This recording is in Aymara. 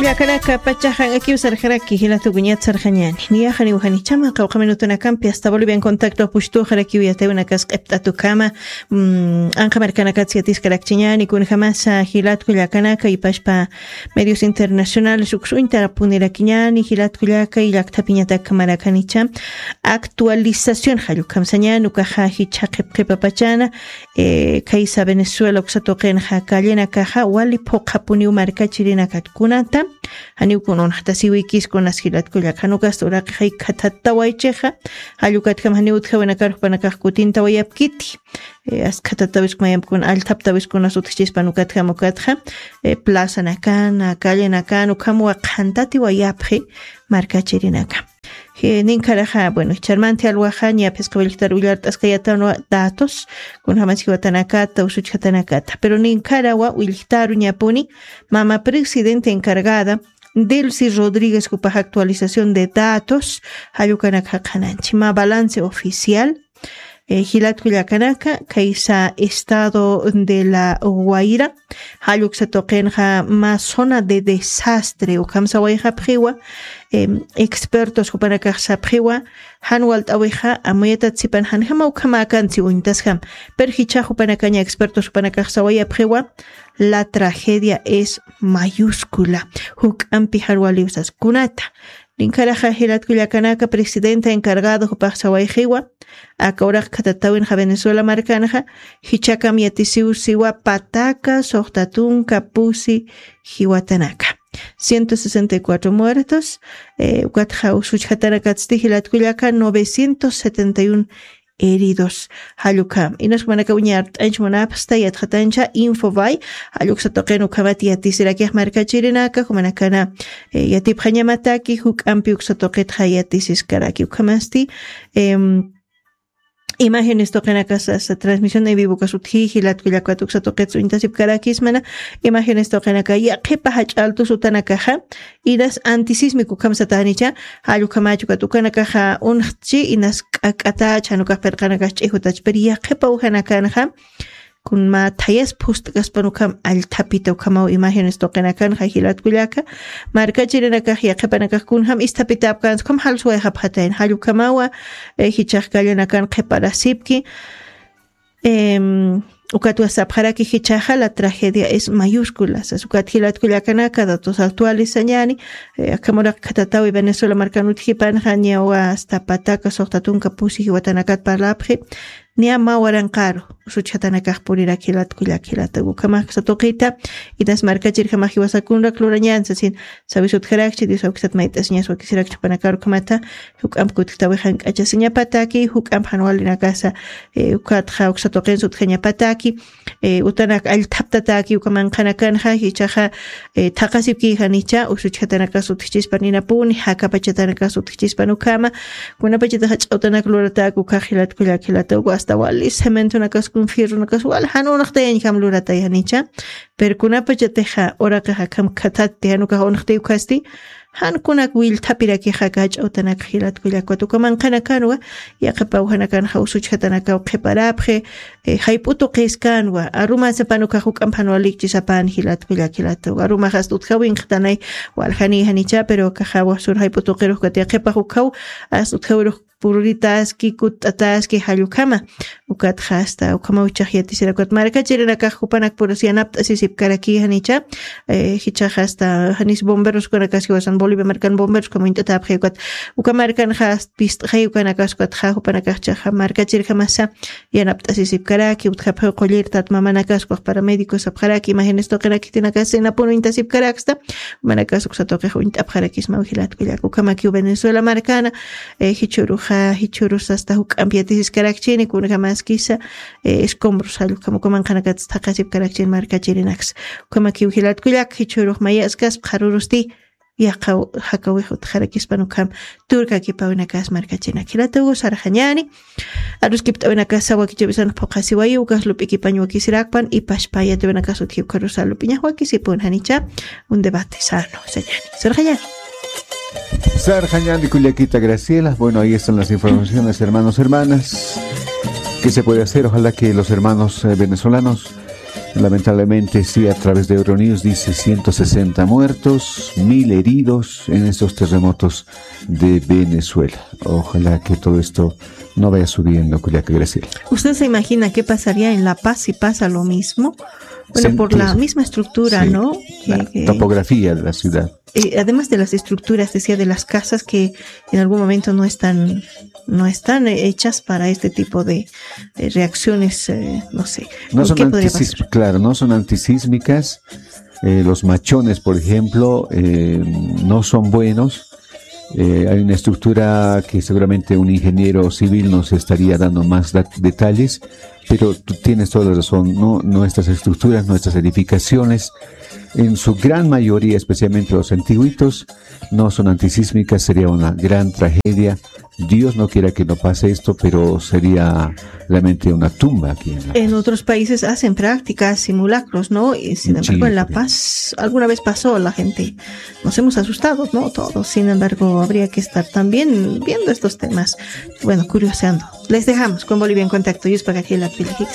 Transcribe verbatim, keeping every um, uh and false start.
Yakanaka pachaxa akiw sarxaraki jilatukuñat sarxañani. Niyaxaniw janichama qawqha minutunakampi hasta Bolivian Contacto pushtuxarakiw yatayunakas q'ipt'atukama. Mm, anqamarkanakats yatiskarakchiñani kunjamasa jilatku llakanaka ipashpa medios internacionales uksuñtarapunirakiñani jilatku llaka y llaktapiñatak marakanicha actualización jallukhamsañani ukaxa jichha qhipqhipapachana. Eh, kaysa Venezuela uksa tuqinxa kallenakaxa wali phuqhapuniw markachirinakat kunata. Janiw kun unxtasiwikis kunas jilatku llakanukasta uraqixay khathattawaychixa. Jallukatjam janiw utjawinakar jupanakax kutintawayapkiti. Eh, askhatattawiskumayamkun allthaptawiskunas utjchispan ukatjam ukatja. Eh, plazanakana kallenakana ukhamwa qhantatiwayapxi markachirinaka. Ninkaraxa bueno charmanti alwaxa ñaphisqa willktaru willart'askayatanwa datos kunjamas jiwatanakata usuchjatanakata pero ninkarawa willktaru ñapuni mama presidente encargada Delcy Rodríguez jupax actualización de datos. Jallukanakxa qhananchi ma balance oficial. Jilatku llakanaka kaysa estado de la Guaira jalluksa tuqinxa ma zona de desastre ukhamsa wayxapxiwa. Expertos jupanakaxsapxiwa jan walt'awixa amuyatatsipan janjama ukhamäkansi uñtasjam. Pero jichhax jupanakaña expertos jupanakaxsawayapxiwa la tragedia es mayúscula. Juk'ampi jan waliwsas kunata. Ninkaraxa jilatku llakanaka presidenta encargado jupaxsawayxiwa. Aka uraq khatatawinxa Venezuela markanxa jichhakam yatisiwsiwa pataka suxta tunka pusi jiwatanaka. Ciento sesenta y cuatro muertos. Ukatxa usuchjatanakatsti jilatku llaka novecientos setenta y uno heridos. Jallukam inas jumanaka uñart'anch munapxsta yatxatancha infobay. Jalluksa tuqin ukhamat yatisirakix markachirinaka jumanakana yatipxañamataki juk'ampi uksa tuqitxa yatisiskaraki ukhamasti. Imágenes tuqinakasa transmisión en vivokas utji jilatku llakat uksa tuqits uñtasipkarakismana. Imágenes tuqinaka yaqhipa jach'altus utanakaxa inas antisísmico ukhamsatanicha. Jallukamachukat ukanakaxa unxtchi inas k'ak'atach janukax pirqanakax ch'ijutach pero yaqhipa ujanakanxa kunma thayas phust'kaspan ukham allthapita ukhamaw imágenes tuqinakanxa jilatku llaka. Markachirinakax yaqhipanakax kunjam isthapitapkansa ukham jalsuwayxapxatayn jallukhamawa. Jichhax kallanakan qhiparasipki. Ukatwa sapxaraki jichhaxa la tragedia es mayúscula sas ukat jilatku llakanaka datos actuales sañani. Akhamuraq khatatawi Venezuela markan utjipanxa ñawa asta pataka suxta tunka pusi jiwatanakat parlapxi. Niya mä waranqaru usuchjatanakax purirak jilatku llak jilata ukhamax uksa tuqita. Inas markachirjamax jiwasakunrak lurañan sasin. Sawis utjarakchi dios awkisat mayt'asiñas wakisirakchi jupanakar ukhamata. Juk'amp kutktawi jank'achasiñapataki juk'amp jan walinakasa ukatxa uksa tuqinsa utjañapataki. Utanak allthaptataki uka manqhanakanxa jichhaxa thaqasipki janicha usuchjatanakas utjchispan inapuni jakapachatanakas utjchispan ukhama. Kunapachataxa ch'awtanak luratak ukhax jilatku llak jilata uka asta wali cementonakaskun fierronakas wali jan unxtayañjam luratay janicha. Pero kunapachatixa uraqixa akham khathatti jan ukax unxtay ukhasti jan kunak willthapirakixa kach'awtanakxa jilatku llakwat uka manqhanakanwa. Yaqhipa ujanakanxa usuchjatanakaw qhiparapxi. Jayp'u tuqiskanwa arumasapan ukax juk'amp jan walikchisapan jilatku llak jilata uka arumax asta utjawinxtanay. Waljani janicha pero akaxawa sur jayp'u tuqirux ukat yaqhipax ukhaw asta utjawirux pururitaski kutt'ataski jallukhama. Ukatxa asta ukhamaw jichhax yatisirakwat markachirinakax jupanakpurus yanapt'asisipkaraki janicha. Jichhaxa asta janis bomberos ukanakaski wasan bolivia markan bomberos ukham uñt'atapxi ukat uka markanxa asta pist'xay ukanakas ukatxa jupanakaxchaxa markachirjamasa yanapt'asisipkaraki utjapxiw qullirität mamanakas ukax paramédicos sapxaraki imágenes tuqinakitinakas inapun uñtasipkaraksta. Manakas uksa tuqix uñt'apxarakismaw jilatku llak ukhamakiw Venezuela markana. Jichhuruxa jichhurus asta juk'amp yatisiskarakchini kunjamaskisa escombros jallukam uka manqhanakats thaqasipkarakchini markachirinaks. Ukhamakiw jilatku llak jichhurux mayaskas pxarurusti yaqhaw jakawix utjarakispan ukham turkakipawinakas markachinak jilatuw sarxañani. Aruskipt'awinakasa wakichawisan phuqhasiwayi ukax lup'ikipañ wakisirakpan ipashpa yatiwinakas utji ukharusa lup'iñax wakisipun janicha. Un debate sano sañani sarxañani. Sarxañani kullakita graciela bueno ahí están las informaciones hermanos hermanas. ¿Qué se puede hacer? Ojalá que los hermanos eh, venezolanos Lamentablemente, sí, a través de Euronews dice ciento sesenta muertos, mil heridos en estos terremotos de Venezuela. Ojalá que todo esto no vaya subiendo, Kullaka Graciela. ¿Usted se imagina qué pasaría en La Paz si pasa lo mismo? Bueno, por la misma estructura, ¿no? La topografía de la ciudad. Eh, además de las estructuras, decía, de las casas que en algún momento no están, no están eh, hechas para este tipo de, de reacciones, eh, no sé. No son antisísmicas, claro, no son antisísmicas. Eh, los machones, por ejemplo, eh, no son buenos. Eh, hay una estructura que seguramente un ingeniero civil nos estaría dando más detalles, pero tú tienes toda la razón, ¿no? Nuestras estructuras, nuestras edificaciones, en su gran mayoría, especialmente los antiguitos, no son antisísmicas, sería una gran tragedia. Dios no quiera que no pase esto, pero sería realmente una tumba aquí en La Paz. En otros países hacen prácticas, simulacros, ¿no? Y sin embargo, en La Paz alguna vez pasó, la gente nos hemos asustado, ¿no? Todos. Sin embargo, habría que estar también viendo estos temas, bueno, curioseando. Les dejamos con Bolivia en Contacto. Yuspa Gabriela Pili Hicks.